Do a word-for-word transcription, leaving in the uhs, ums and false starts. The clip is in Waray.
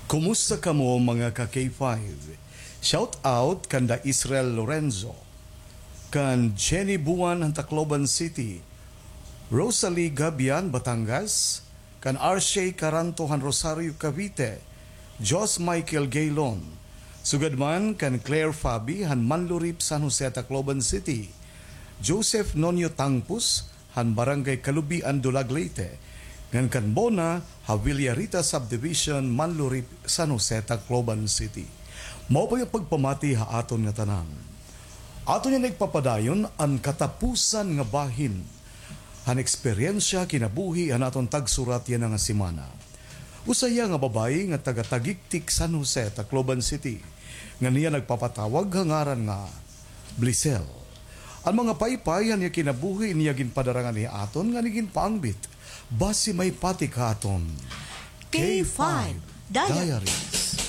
Kumusta kamo, mga ka K five? Shout out kanda Israel Lorenzo, kan Jenny Buan han Tacloban City, Rosalie Gabian, Batangas, kan Arshay Caranto han Rosario, Cavite, Jos Michael Gaylon, sugad man kan Claire Fabi han Manlurip, San Jose, Tacloban City, Joseph Nonyo Tangpus han Barangay Kalubian, Dulag, Leyte, ngan kan Bona ha Villarita Subdivision, Manlurip, San Jose, Tacloban City. Mao pa it pagpamati ha aton nga tanan. Aton niyan igpapadayon an katapusan nga bahin han eksperyensya kinabuhi han aton tagsurat yana nga semana. Usa hiya nga babayi nga taga Tagigtik, San Jose, Tacloban City, nga niya nagpapatawag ha ngaran nga Blisel. An mga paypay han iya kinabuhi niya ginpadara ngani ha aton ngan ginpaangbit. Basi may patik ha aton K five Diary.